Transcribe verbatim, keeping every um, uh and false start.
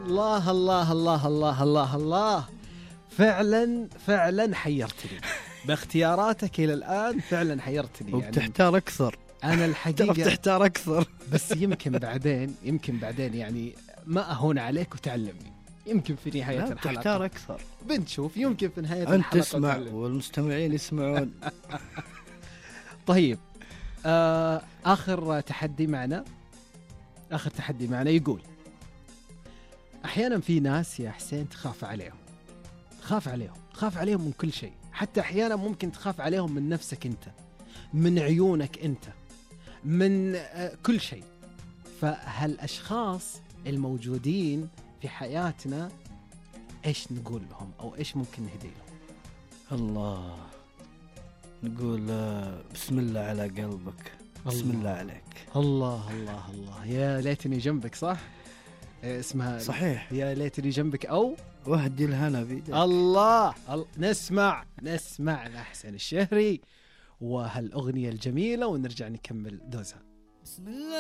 الله الله الله الله الله الله، فعلا فعلا حيرتني باختياراتك إلى الآن، فعلا حيرتني يعني. وبتحتار أكثر. أنا الحقيقة بتحتار أكثر بس يمكن بعدين يمكن بعدين يعني ما أهون عليك وتعلمني، يمكن في نهاية الحلقة بتحتار أكثر، بنشوف، يمكن في نهاية أنت الحلقة تسمع تعلم. والمستمعين يسمعون. طيب آه آخر تحدي معنا آخر تحدي معنا يقول: أحيانا في ناس يا حسين تخاف عليهم تخاف عليهم تخاف عليهم من كل شيء، حتى أحيانا ممكن تخاف عليهم من نفسك أنت، من عيونك أنت، من آه كل شيء. فهالأشخاص الموجودين في حياتنا إيش نقول لهم أو إيش ممكن نهدي لهم؟ الله، نقول بسم الله على قلبك، بسم الله عليك. الله الله الله، يا ليتني جنبك. صح اسمها صحيح، يا ليتني جنبك أو وهدي الهنا بيدك. الله, الله. نسمع نسمع أحسن الشهري وهالأغنية الجميلة ونرجع نكمل دوزها. بسم الله.